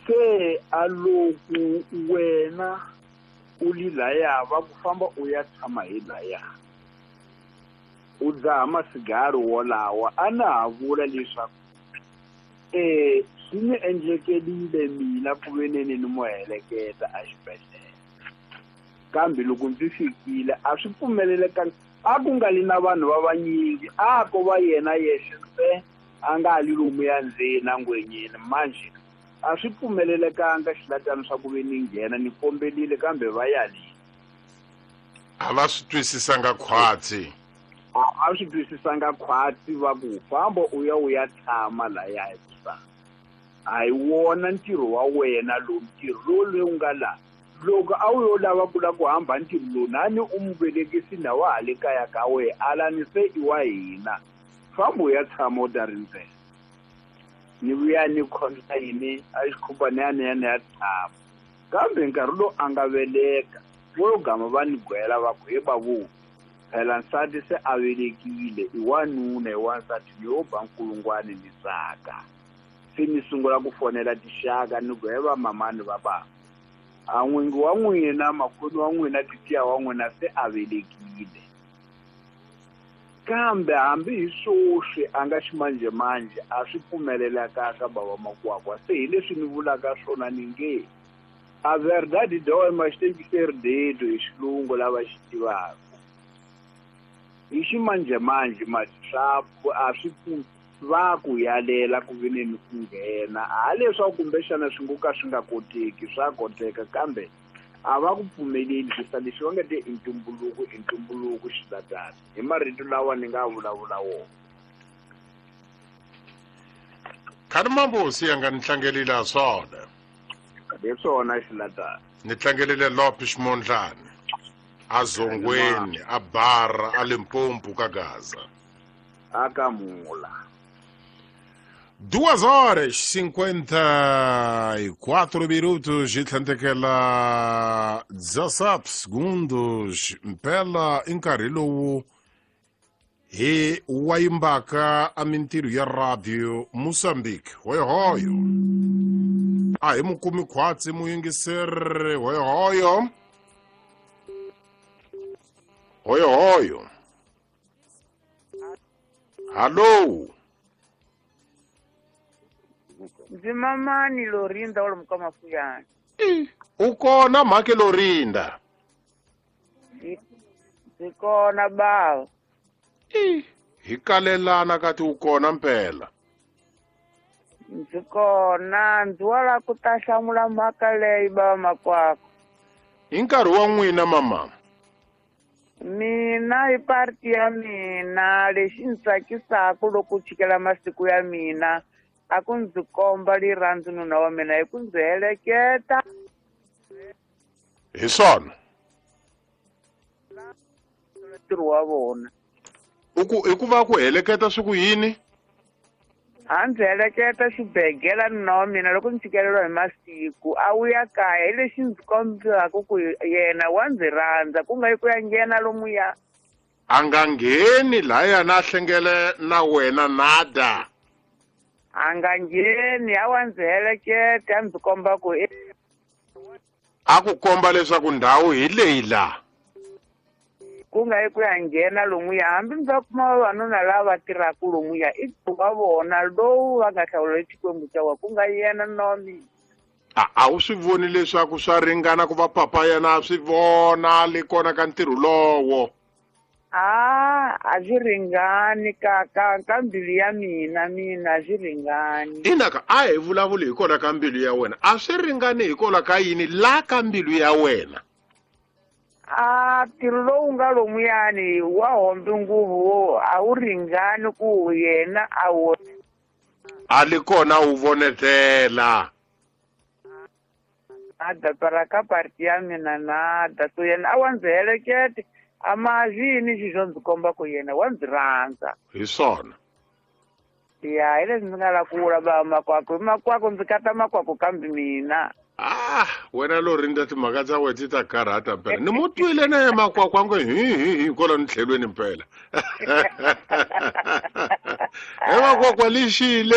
Se a loko wena u li laya va ku famba u ya tshama hi laya u dzaha masigari wolawa a na ha vula leswaku swi ni endlekelile mina ku veneni ni mo heleketa exibedhlele kambe loko ndzi fikile a swi pfumelelekanga a ku nga li na vanhu va vanyingi a ko va yena yexe ntsena a nga li lomuya ndzeni a ngwenyeni manje a swi pfumelelekanga xilatani swa ku ve ni nghena ni kombelile kambe va yalile. A va swi twisisanga khwatsi. A swi twisisanga khwatsi va ku famba u ya u ya tshama laya hikusa a hi wona ntirho wa wena lowu ntirho lowu lowu nga la loko a wu yo lava ku la ku hamba ntirho lowu nani u mu velekisi na wa ha le kaya ka wehe alani se i wa hina famba u ya tshama u ta rindzela ni vuya ni khonza yini a xikhuba ni ya ni ya ni ya tshama kambe nkarhi lowu a nga veleka vo gama va ni gwela va ku he babu phela nsati se a velekile i wanuna i wansati ni yo ba nkulungwani ni tsaka se ni sungula ku fonela tixaka ni ku he va mamani va baba a n'wingi wa n'wina makhoni wa n'wina titiya wa n'wina se a velekile kambe hambi hi swoswi a nga ximanjhemanjhe a swi pfumelelekaka bava makwakwa se hi leswi ni vulaka swona ni nge a verdade dói mas tem que ser dito hi xilungu lava xi tivaka hi ximanjhemanjhe swa a swi va ku yalela ku veneni ku nghena ha leswaku kumbexana swi ngo ka swi nga koteki swa koteka kambe a va ku pfumeleli kusa lexi va nga te i ntumbuluko i ntumbuluko xilatana hi marito lawa ni nga vulavula wona. Khani mambosi ya nga ni tlangelile swona. Hi swona xilatana. Ni tlangelile Lope Ximondlani a Zongweni a Bara a Limpopo ka Gaza. A ka Mula. 2:54 minutos hi tlhandlekela 17 segundos mpela i nkarhi lowu hi wayimbaka a mintirho ya radio Mozambique hoyohoyo a hi mukumi khwatsi muyingiseri hoyohoyo hoyohoyo hallo. Ndzi mamani Lorinda wa lomu ka Mafuyana. U kona mhake Lorinda? Ndzi kona bava. Hi kalelana kati u kona mpela. Ndzi kona ndzi wala ku ta hlamula mhaka leyi bava makwako. Hi nkarhi wa n'wina mama. Mina hi parti ya mina lexi ndzi tsakisaka loko chikela masiku ya mina a ku ndzi komba rirhandzu nuna wa mina hi ku ndzi heleketa. Hi swona. Ntirho wa vona. I ku va ku heleketa swi ku yini? A ndzi heleketa xibegela nuna wa mina loko ndzi tshikeleriwa hi masiku a wuya kaya hi lexi ndzi kombaka ku yena wa ndzi rhandza ku nga yi ku ya nghena lomuya. A nga ngheni laya na hlengele na wena nada. A nga ngheni a wa ndzi heleketa a ndzi komba ku a ku komba leswaku ndhawu hi leyi la. Ku nga yi ku ya nghena lomuya hambi ndzi va kuma vavanuna lava tirhaka lomuya i wa vona lowu va nga hlawula Xikwembu xa wa ku nga yena nuna wa mina. A wu swi voni leswaku swa ringana ku va papa yena a swi vona le kona ka ntirho lowo? A swi ringani ka mbilu ya mina mina a swi ringani. Inaka a hi vulavuli hi kona ka mbilu ya wena a swi ringani hi kona ka yini la ka mbilu ya wena? A ntirho lowu nga lomuyani wa hombe nguvu a wu ringani ku yena a wu a li kona wu vonetela. A da ka parti ya mina nada so yena a wa ndzi helekete a mazini xixo ndzi komba ku yena wa ndzi rhandza. Hi swona. Ya hi leswi ndzi nga la ku vula ba makwako hi makwako ndzi kata makwako kambe mina. Ah wena Lorinda timhaka ta wena ti ta karhata mpela ni mu twile na ye makwako a ngo hi hi hi kwalano tlhelweni mpela. He makwakwa lixile.